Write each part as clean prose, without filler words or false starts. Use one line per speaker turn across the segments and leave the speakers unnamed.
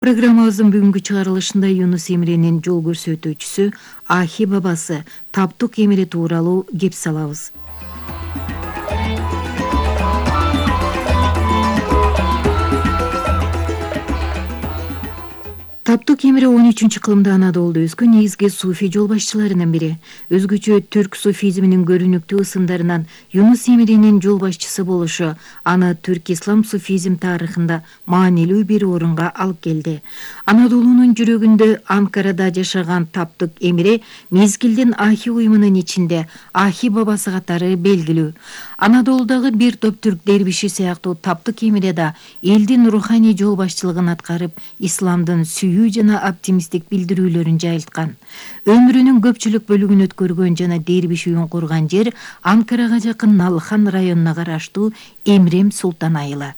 Программабыздын бүгүнкү чыгарылышында Юнус Эмренин жол көрсөтүүчүсү Ахи бабасы Таптук Эмре тууралуу кеп салабыз. Таптук Эмре 13-кылымда Анадолуда өскөн негизги суфий жол башчыларынын бири. Өзгөчө түрк суфизминин көрүнүктүү ысымдарынан Юнус Эмренин жол башчысы болушу аны түрк ислам суфизм тарыхында маанилүү бир орунга алып келди. Анадолунун жүрөгүндө Анкарада жашаган Таптук Эмре мезгилдин Ахи уюмунун ичинде Ахи бабасы катары белгилүү. Анадолудагы бир топ түрк дербиши сыяктуу Таптук Эмре да элдин руханий жол башчылыгын аткарып, исламдын сүйүү жана оптимисттик билдирүүлөрүн жайылткан. Өмүрүнүн көпчүлүк бөлүгүн өткөргөн жана дербиш үйүн курган жер Анкарага жакын Налхан районуна караштуу Эмрем Султан айылы.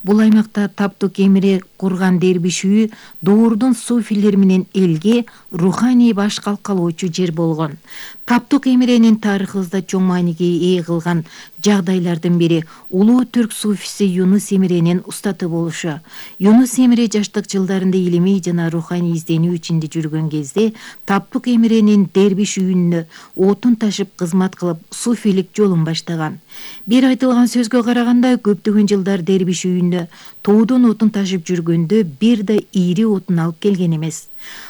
Бул аймакта Таптук Эмре курган дербиш үйү доордун суфилер менен элге руханий баш калкалоочу жер болгон. Таптук Эмренин тарыхыбызда чоң мааниге ээ кылган жагдайлардын бири улуу түрк суфиси Юнус Эмренин устаты болушу. Юнус Эмре жаштык жылдарында илимий жана руханий изденүү ичинде жүргөн кезде Таптук Эмренин дербиш үйүнө отун ташып кызмат кылып суфилик жолун баштаган. Бир айтылган сөзгө караганда көптөгөн жылдар дербиш үйүнө тоодон отун ташып жүргөндө бир да ири отун алып келген эмес.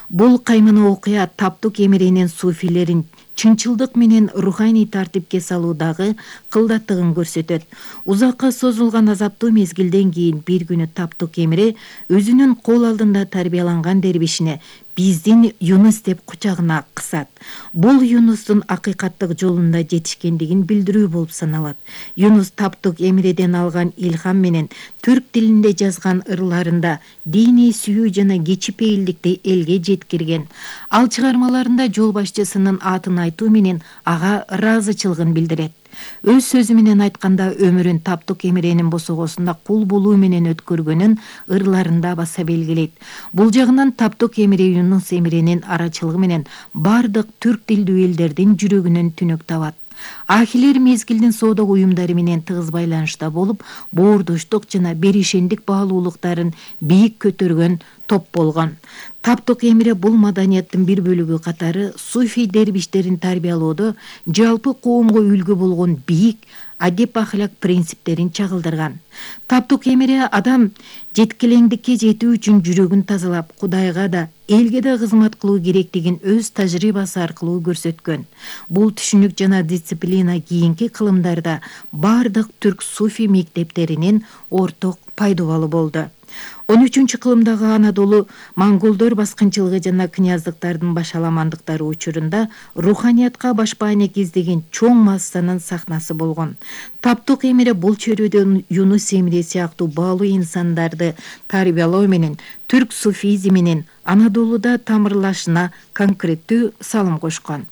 Бул каймана окуя Таптук Эмренин суфилерин чынчылдык менен руханий тартипке салуудагы кылдаттыгын көрсөтөт. Узакка созулган азаптуу мезгилден кийин бир күнү Таптук Эмре өзүнүн кол алдында тарбияланган дербишине биздин Юнус деп кучагына кысат. Бул Юнустун акыйкаттык жолунда жетишкендигин билдирүү болуп саналат. Юнус Таптук Эмреден алган илхам менен түрк тилинде жазган ырларында диний сүйүү жана кечипейилдикти элге жеткирген. Ал чыгармаларында жол башчысынын атын айтуу менен ага ыраазычылыгын билдирет. Өз сөзү менен айтканда өмүрүн Таптук Эмренин босогосунда кул болуу менен өткөргөнүн ырларында баса белгилейт. Бул жагынан Таптук Эмре Юнус Эмренин арачылыгы менен бардык түрк тилдүү элдердин жүрөгүнөн түнөк табат. Ахилер мезгилдин соода уюмдары менен тыгыз байланышта болуп, боордоштук жана беришендик баалуулуктарын бийик көтөргөн топ болгон. Таптук Эмре бул маданияттын бир бөлүгү катары суфий дербиштерин тарбиялоодо жалпы коомго үлгү болгон бийик адеп ахлак принциптерин чагылдырган. Таптук Эмре адам жеткилеңдикке жетүү үчүн жүрөгүн тазалап, Кудайга да, элге да кызмат кылуу керектигин өз тажрыйбасы аркылуу көрсөткөн. Бул түшүнүк жана дисциплина кийинки кылымдарда бардык түрк суфий мектептеринин орток пайдубалы болду. 13-кылымдагы Анадолу монголдор баскынчылыгы жана князьдыктардын башаламандыктары учурунда руханиятка баш баанек издеген чоң массанын сахнасы болгон. Таптук Эмре бул чөйрөдөн Юнус Эмре сыяктуу баалуу инсандарды тарбиялоо менен түрк суфизминин Анадолуда тамырлашына конкреттүү салым кошкон.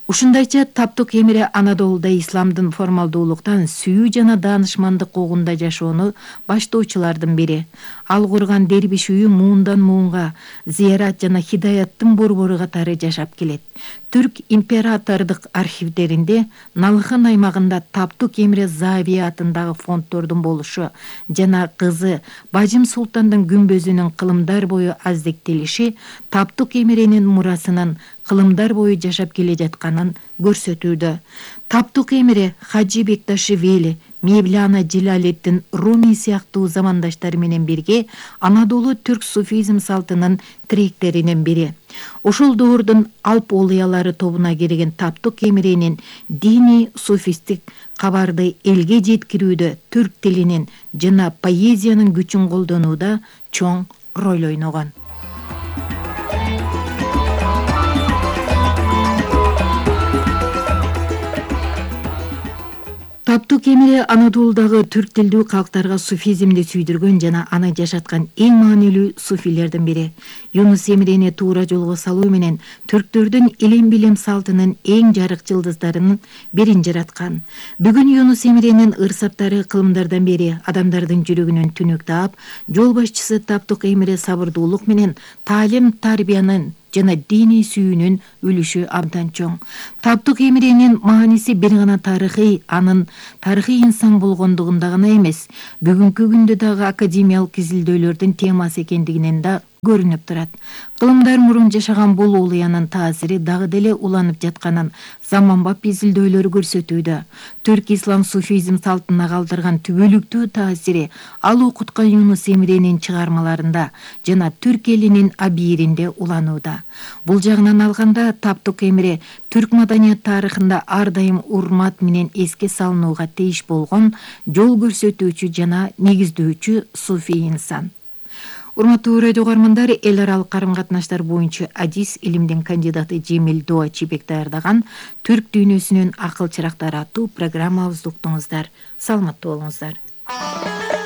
Ушундайча Таптук Эмре Анадолуда исламдын формалдуулуктан сүйүү жана даанышмандык когунда жашоону баштоочулардын бири. Ал курган дербиш үйү муундан муунга зыярат жана хидаяттын борбору катары жашап келет. Түрк императордук архивдеринде Налхан аймагында Таптук Эмре Завия атындагы фонддордун болушу жана кызы Бажым Султандын күмбөзүнүн кылымдар бою аздектелиши Таптук Эмренин мурасынын кылымдар бою жашап келе жатканын көрсөтүүдө. Таптук Эмре Хаджи Бекташвили, Мевляна Джилалеттин Руми сыяктуу замандаштары менен бирге Анадолу түрк суфизм салтынын тиректеринин бири. Ошол доордун алп олуялары тобуна кирген Таптук Эмренин диний суфистик кабарды элге жеткирүүдө түрк тилинин жана поэзиянын күчүн колдонууда чоң роль ойногон. Таптук Эмре Анадолудагы түрк тилдүү калктарга суфизмди сүйдүргөн жана аны жашаткан эң маанилүү суфилердин бири. Юнус Эмрени туура жолго салуу менен түрктөрдүн илим билим салтынын эң жарык жылдыздарынын бирин жараткан. Бүгүн Юнус Эмренин ырсаттары кылымдардан бери адамдардын жүрөгүнөн түнөк таап, жол башчысы Таптук Эмре сабырдуулук менен таалим тарбиянын жана диний сүйүүнүн үлүшү абдан чоң. Таптук Эмренин мааниси бир гана тарыхый, анын тарыхый инсан болгондугунда гана эмес, бүгүнкү күндө дагы академиялык изилдөөлөрдүн темасы экендигинен да көрүнүп турат. Кылымдар мурун жашаган бул улуянын таасири дагы деле уланып жатканын заманбап изилдөөлөр көрсөтүүдө. Түрк ислам суфизм салтына калтырган түбөлүктүү таасири ал окуткан Юнус Эмренин чыгармаларында жана түрк элинин абийиринде уланууда. Бул жагынан алганда Таптык Эмре түрк маданият тарыхында ар дайым урмат менен эске салынууга тийиш болгон жол көрсөтүүчү жана негиздөөчү суфий инсан. Урматтуу радио угармандар, эл аралык карым-катнаштар боюнча адис илимдин кандидаты Жемил Дуачибек даярдаган Түрк дүйнөсүнүн акыл чырактары аттуу программабызды уктуңуздар. Саламаттуу болуңуздар.